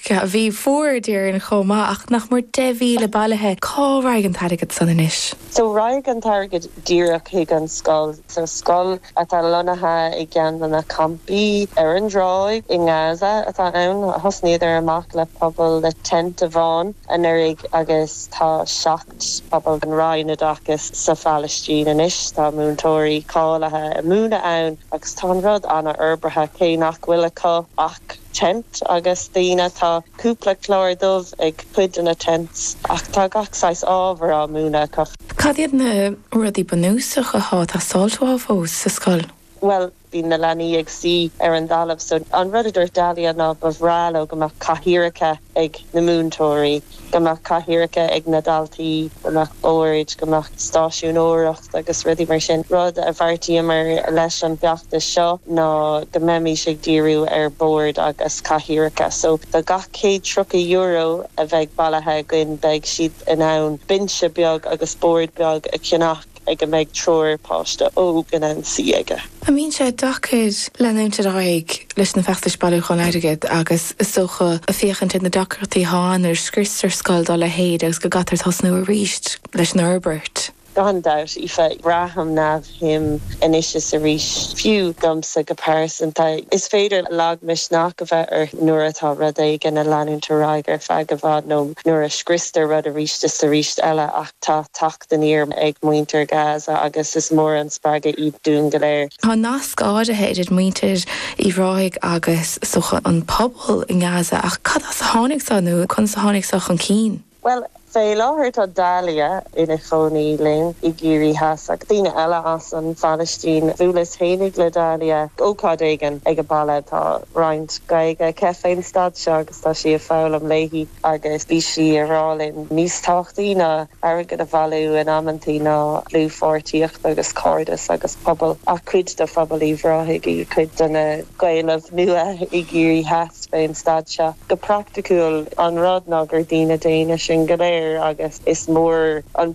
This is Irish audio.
Bhí fuar, déarfainn, chomh maith, ach nach mór 10,000 bailithe. Cá raghaidh an t-airgead san anois? So raghaidh an t-airgead díreach chuig an scoil. So scoil atá lonnaithe i gceann de na campaí ar an dtráigh i nGaza atá ann. Thosnaíodar amach le puball le tent amháin anuraidh agus tá 7 phuball an Roinn Oideachais sa Phalaistín anois. Tá múinteoirí cáilithe ag múineadh ann agus tá an rud an-fhorbartha cé nach bhfuil acu ach tent agus daoine. Tá cúpla clár dubh ag cuid de na tents ach tá gach saghas ábhar á múineadh acu. Cad iad na rudaí bunúsacha atá ag teastáilt uathu fós sa scoil? Bhuel, bíonn na leanaí ag suí ar an dtalamh so an rud a dúirt Dalia ná ba bhreá leo go mbeadh cathaoireacha ag na múinteoirí, go mbeadh cathaoireacha ag na daltaí, go mbeadh boird, go mbeadh stáisiúnóireacht agus rudaí mar sin. Rud a bheartaíomar leis an bhfeachtas seo ná go mbeimis ag díriú ar bhoird agus cathaoireacha. So do gach €130 a bheidh bailithe againn beidh siad in ann binse beag agus bord beag a cheannach ag a mbeidh triúr páiste óg in ann suí aige. An mbíonn sé deacair leanúint ar aghaidh leis na feachtais bailiúcháin airgid agus is dócha féachaint ar na deacrachtaí atá ann nuair a scriostar scoil dá leithéid agus go gcaithfear tosnú arís leis an fhorbairt? Gan dabht, Aoife. Braithim neamhshuim anois is arís, fiú domsa go pearsanta. Is féidir lagmhisneach a bheith ort nuair atá rud éigin ag leanúint ar aghaidh ar feadh i bhfad nó nuair a scriostar rud arís is arís eile ach tá teacht aniar ag muintir Gaza agus is mór an spreagadh iad dúinn go léir. Tá nasc áirithe idir muintir Uíbh Ráthaigh agus, is dócha, an pobal i nGaza ach cad as a tháinig seo nó conas a tháinig seo chun cinn? Bhuel, fé láthair tá Dalia ina cónaí linn i gCiarraí Theas agus daoine eile as an Phalaistín. Bhuaileas fhéinig le Dalia ócáid éigin ag a baile. Tá roinnt Gaeilge aici fén staid seo agus tá sí ag foghlaim léi agus bhí sí ag rá linn níos tábhachtaí ná airgead a bhailiú in amantaí ná dlúthpháirtíocht agus cairdeas agus pobal. Ach cuid de phobal Uíbh Ráthaigh í, cuid de na Gaelaibh nua i gCiarraí Theas. fén staid seo. Go praiticiúil, an rud ná gur daoine daonna sinn go léir agus is mór an.